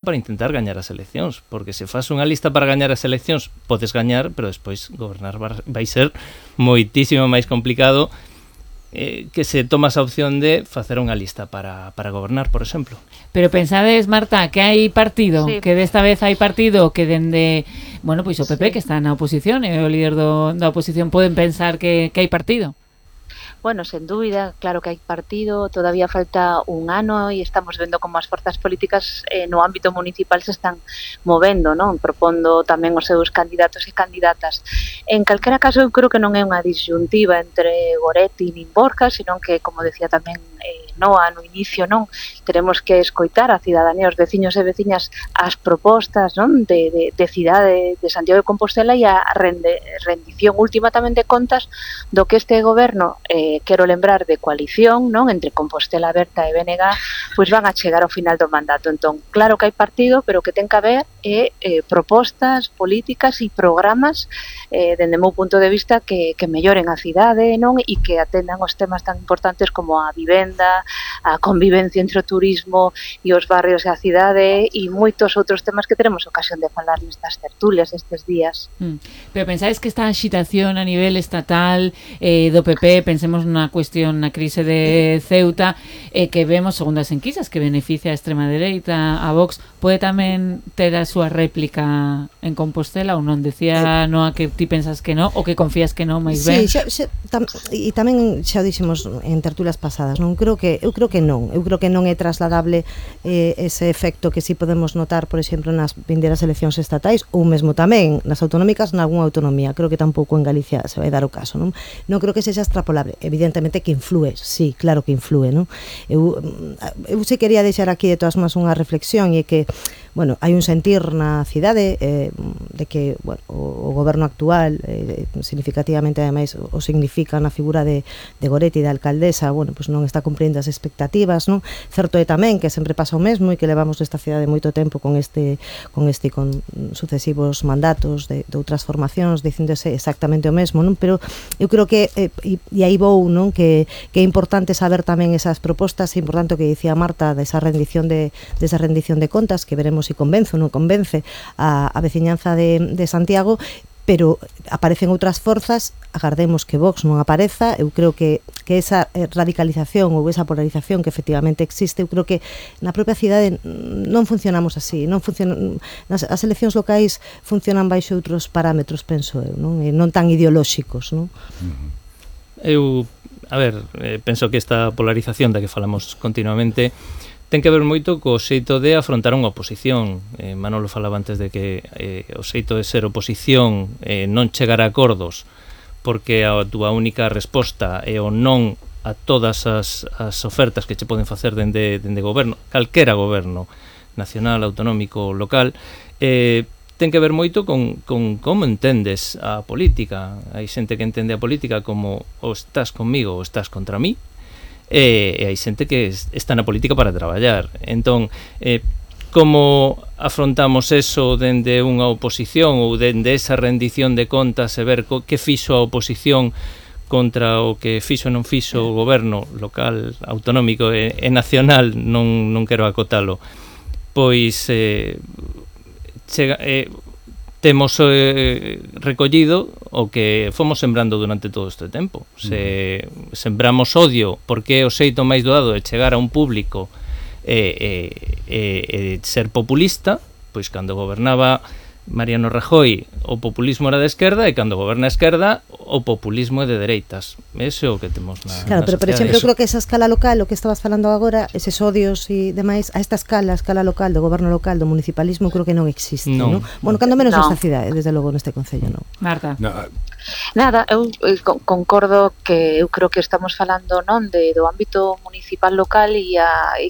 para intentar gañar as eleccións, porque se faz unha lista para gañar as eleccións podes gañar, pero despois gobernar vai ser moitísimo máis complicado que se tomas a opción de facer unha lista para gobernar, por exemplo. Pero pensades, Marta, que hai partido, sí, que desta vez hai partido que dende, bueno, pois o PP, sí, que está na oposición, e o líder da oposición, poden pensar que hai partido? Bueno, sen dúbida, claro que hai partido, todavía falta un ano e estamos vendo como as forzas políticas no ámbito municipal se están movendo, non? Propondo tamén os seus candidatos e candidatas. En calquera caso, eu creo que non é unha disyuntiva entre Goretti nin Borja, sino que, como decía tamén Noa no inicio, non? Teremos que escoitar a cidadanía, os veciños e veciñas, as propostas, non? De cidade de Santiago de Compostela e a rendición última tamén de contas do que este goberno, quero lembrar, de coalición, non? Entre Compostela Aberta e BNG, pois van a chegar ao final do mandato. Entón, claro que hai partido, pero que ten que haber propostas políticas e programas dende o meu punto de vista que melloren a cidade, non? E que atendan os temas tan importantes como a vivenda, a convivencia entre o turismo e os barrios e a cidade e moitos outros temas que teremos ocasión de falar nestas tertulias estes días. Pero pensáis que esta agitación a nivel estatal do PP, pensemos na cuestión, na crise de Ceuta, que vemos, segundo as enquisas, que beneficia a extrema dereita, a Vox, pode tamén ter a súa réplica en Compostela ou non? Decía Noa que ti pensas que non, ou que confías que non, máis ben? Sí, e tamén xa o dixemos en tertulias pasadas, non? Eu creo que non é trasladable ese efecto que si podemos notar, por exemplo, nas vindeiras eleccións estatais ou mesmo tamén nas autonómicas nalgúna autonomía. Creo que tampouco en Galicia se vai dar o caso, non? Non creo que sexa extrapolable. Evidentemente que influe, sí, claro que influe, non? Eu se quería deixar aquí de todas máis unha reflexión e que, bueno, hai un sentir na cidade de que, bueno, o goberno actual significativamente ademais o significa na figura de Goretti, da alcaldesa, bueno, pues non está cumprindo as expectativas, non? Certo é tamén que sempre pasa o mesmo e que levamos esta cidade moito tempo con sucesivos mandatos de outras formacións dicíndose exactamente o mesmo, non? Pero eu creo que e aí vou, non? Que é importante saber tamén esas propostas, é importante o que dicía Marta desa rendición de contas, que veremos se convence ou non convence a veciñanza de Santiago, pero aparecen outras forzas, agardemos que Vox non apareza. Eu creo que esa radicalización ou esa polarización que efectivamente existe, eu creo que na propia cidade non funcionamos así, as eleccións locais funcionan baixo outros parámetros, penso eu, non tan ideolóxicos, non? Eu, penso que esta polarización da que falamos continuamente ten que ver moito co xeito de afrontar unha oposición. Manolo falaba antes de que o xeito de ser oposición non chegar a acordos porque a túa única resposta é o non a todas as ofertas que che poden facer dende goberno, calquera goberno nacional, autonómico, local, ten que ver moito con como entendes a política. Hai xente que entende a política como ou estás conmigo ou estás contra mí, e hai xente que está na política para traballar. Entón, como afrontamos eso dende unha oposición ou dende esa rendición de contas e ver que fixo a oposición contra o que fixo e non fixo o goberno local, autonómico e nacional, non quero acotalo, pois temos recollido o que fomos sembrando durante todo este tempo. Se sembramos odio porque é o xeito máis doado de chegar a un público e ser populista, pois cando gobernaba Mariano Rajoy o populismo era de esquerda e cando goberna a esquerda o populismo é de dereitas. Ese é o que temos na Claro, pero por exemplo, eu creo que esa escala local, o que estabas falando agora, eses odios e demais, a esta escala local, do goberno local, do municipalismo, creo que non existe, non? Bueno, cando menos nesta cidade, desde logo neste concello, non? Marta. Nada, eu concordo que eu creo que estamos falando, non, do ámbito municipal local e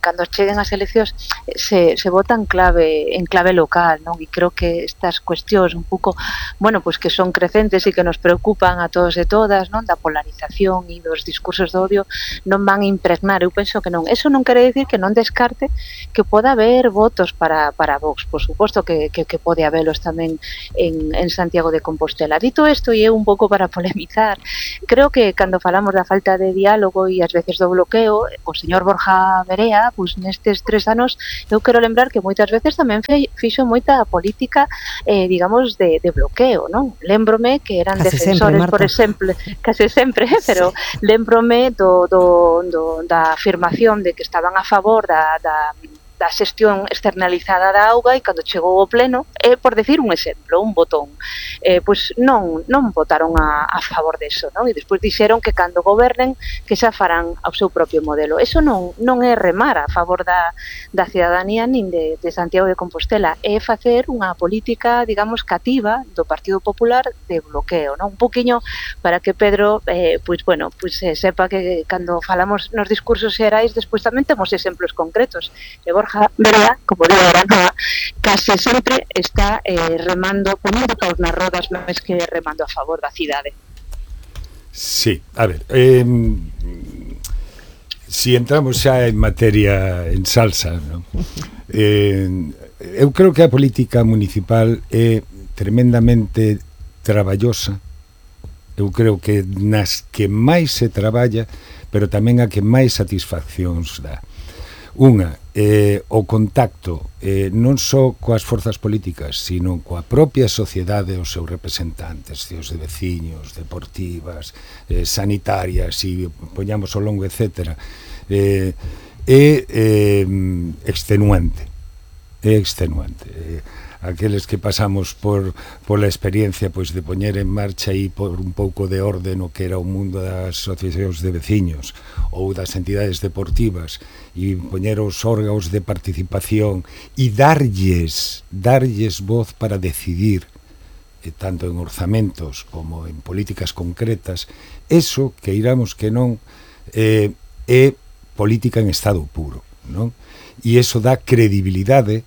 cando cheguen as eleccións se vota en clave local, non? E creo que esta estas cuestións un pouco, bueno, pois que son crecentes e que nos preocupan a todos e todas, non, da polarización e dos discursos de odio, non van a impregnar. Eu penso que non. Eso non quere dicir que non descarte que poda haber votos para Vox. Por suposto que pode habelos tamén en Santiago de Compostela. Dito isto, e é un pouco para polemizar, creo que cando falamos da falta de diálogo e ás veces do bloqueo, o señor Borja Verea, pois nestes 3 anos, eu quero lembrar que moitas veces tamén fixo moita política, digamos, de bloqueo, non? Lembrome que eran case defensores, sempre, por exemplo, case sempre, pero lembrome da afirmación de que estaban a favor da xestión externalizada da auga, e cando chegou ao pleno, por decir un exemplo, un botón, pois non votaron a favor deso, non? E despois dixeron que cando gobernen que xa farán ao seu propio modelo. Eso non é remar a favor da cidadanía nin de Santiago de Compostela, é facer unha política, digamos, cativa do Partido Popular de bloqueo, non? Un poquinho para que Pedro, sepa que cando falamos nos discursos xerais, despois tamén temos exemplos concretos. E Borja Verea, como digo, case sempre está remando, ponendo paus nas rodas máis que remando a favor da cidade. Sí, a ver, si entramos xa en materia en salsa, ¿no? Eu creo que a política municipal é tremendamente traballosa. Eu creo que nas que máis se traballa, pero tamén a que máis satisfaccións dá. Unha, o contacto non só coas forzas políticas, sino coa propia sociedade, os seus representantes, os de veciños, deportivas, sanitarias, e poñamos ao longo, etc. É extenuante. É extenuante. Aqueles que pasamos pola experiencia, pois, de poñer en marcha e por un pouco de orde no que era o mundo das asociacións de veciños ou das entidades deportivas, e poñer os órganos de participación e darlles voz para decidir, tanto en orzamentos como en políticas concretas, eso, que iramos que non, é política en estado puro, non? E eso dá credibilidade.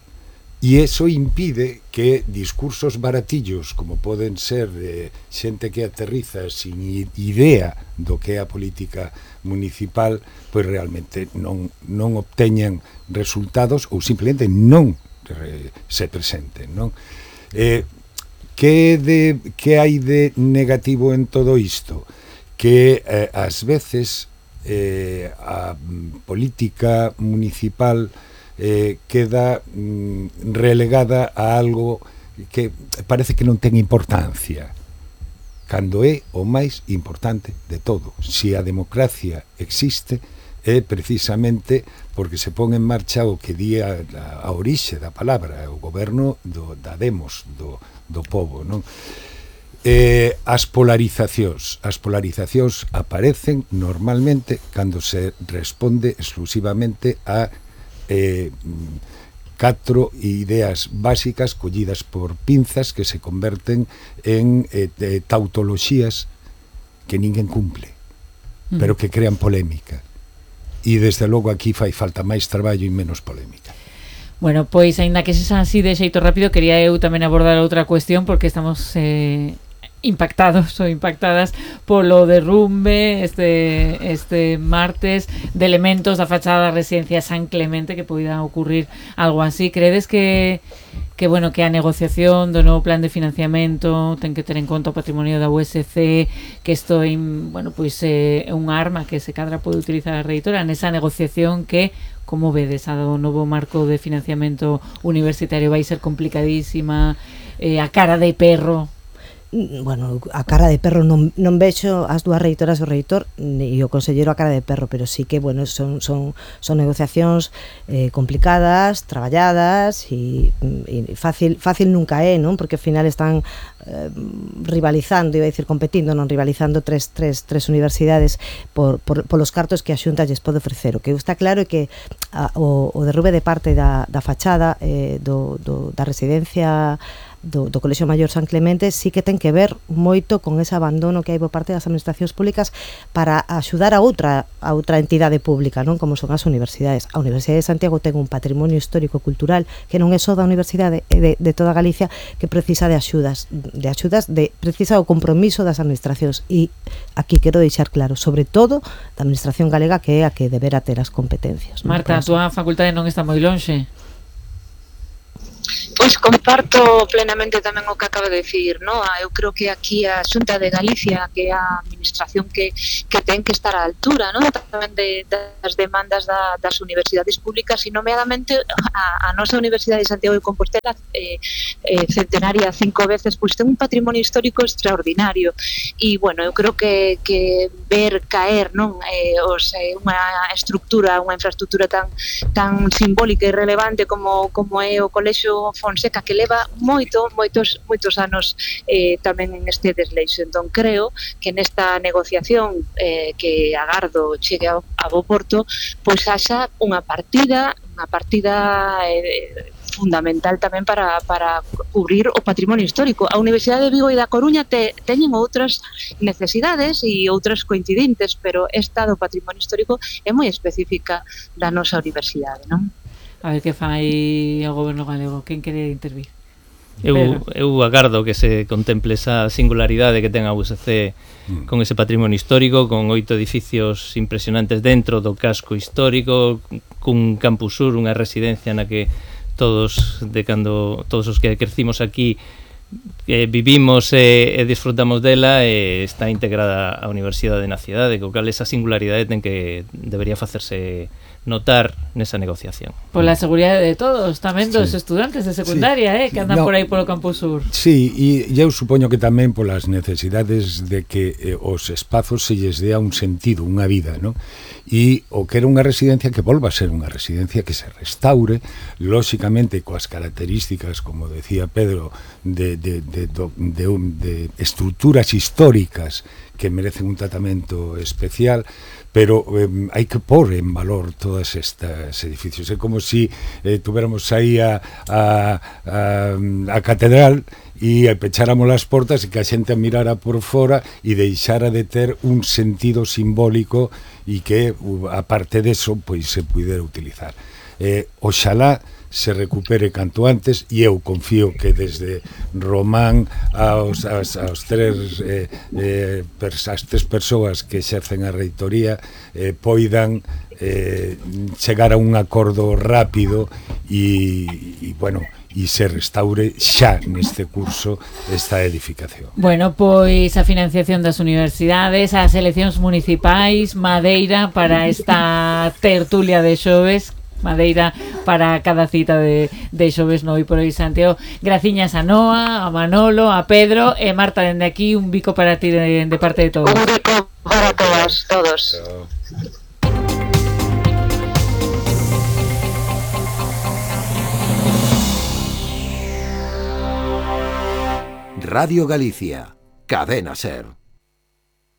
E iso impide que discursos baratillos, como poden ser xente que aterriza sin idea do que é a política municipal, pois realmente non obteñan resultados ou simplemente non se presenten, non? Que hai de negativo en todo isto? Que ás veces a política municipal queda relegada a algo que parece que non ten importancia, cando é o máis importante de todo. Si a democracia existe, é precisamente porque se pon en marcha o que di a orixe da palabra, o goberno da demos, do povo, non? As polarizacións aparecen normalmente cando se responde exclusivamente a 4 ideas básicas collidas por pinzas que se converten en tautoloxías que ninguén cumple, pero que crean polémica. E desde logo aquí fai falta máis traballo e menos polémica. Bueno, pois, aínda que sexa así de xeito rápido, quería eu tamén abordar outra cuestión, porque estamos impactados ou impactadas polo derrumbe este martes de elementos da fachada da residencia San Clemente, que poida ocurrir algo así. Credes que a negociación do novo plan de financiamento ten que ter en conta o patrimonio da USC, que isto é un arma que se cadra pode utilizar a reitora nesa negociación que, como vedes, a do novo marco de financiamento universitario vai ser complicadísima, a cara de perro? Bueno, a cara de perro non vexo as dúas reitoras, o reitor e o conselleiro a cara de perro, pero sí que, bueno, son negociacións complicadas, traballadas e fácil nunca é, non? Porque ao final están rivalizando, iba a dicir competindo, non rivalizando tres universidades polos cartos que a Xunta lles pode ofrecer. O que está claro é que o derrube de parte da fachada da residencia do Colexio Maior San Clemente sí que ten que ver moito con ese abandono que hai por parte das administracións públicas para axudar a outra entidade pública, non, como son as universidades. A Universidade de Santiago ten un patrimonio histórico cultural que non é só da universidade, é de toda Galicia, que precisa de axudas, precisa o compromiso das administracións, e aquí quero deixar claro, sobre todo da administración galega, que é a que debera ter as competencias. Marta, a túa facultade non está moi lonxe. Pois comparto plenamente tamén o que acaba de dicir, no? Eu creo que aquí a Xunta de Galicia, que é a administración que ten que estar á altura, no? Tamén das demandas das universidades públicas, e nomeadamente a nosa Universidade de Santiago de Compostela, centenaria 5 veces, pois ten un patrimonio histórico extraordinario, e bueno, eu creo que ver caer, non, unha estructura, unha infraestructura tan simbólica e relevante como é o Colexio Fonseca, que leva moitos anos tamén en este desleixo. Entón creo que nesta negociación que agardo chegue a bo porto, pois haxa unha partida fundamental tamén para cubrir o patrimonio histórico. A Universidade de Vigo e da Coruña teñen outras necesidades e outras coincidentes, pero esta do patrimonio histórico é moi específica da nosa universidade, non? A ver que fai o goberno galego. Quen quere intervir? Eu agardo que se contemple esa singularidade que ten a USC con ese patrimonio histórico, con 8 edificios impresionantes dentro do casco histórico, cun campus sur, unha residencia na que todos os que crecimos aquí vivimos e disfrutamos dela, e está integrada a Universidade na cidade, co cal esa singularidade debería facerse notar nesa negociación. Pola seguridade de todos, tamén dos estudantes de secundaria, que andan por aí polo Campus Sur. Sí, e eu supoño que tamén polas necesidades de que os espazos se lles dea un sentido, unha vida, non? E o que era unha residencia que volva a ser unha residencia, que se restaure, lóxicamente coas características, como decía Pedro, de estruturas históricas que merecen un tratamento especial, pero hai que pôr en valor todos estes edificios. É como si tuviéramos aí a catedral e pecháramos as portas e que a xente mirara por fora e deixara de ter un sentido simbólico, e que, aparte deso, pois se pudera utilizar. Oxalá se recupere canto antes, e eu confío que desde Román as tres persoas que exercen a reitoría poidan chegar a un acordo rápido e bueno, e se restaure xa neste curso esta edificación. Bueno, pois a financiación das universidades, as eleccións municipais, madeira para esta tertulia de xoves, madeira para cada cita de xoves no Hoy por Hoy Santiago. Graciñas a Noa, a Manolo, a Pedro e Marta, dende aquí un bico para ti de parte de todos. Un bico para todos. Radio Galicia, Cadena Ser.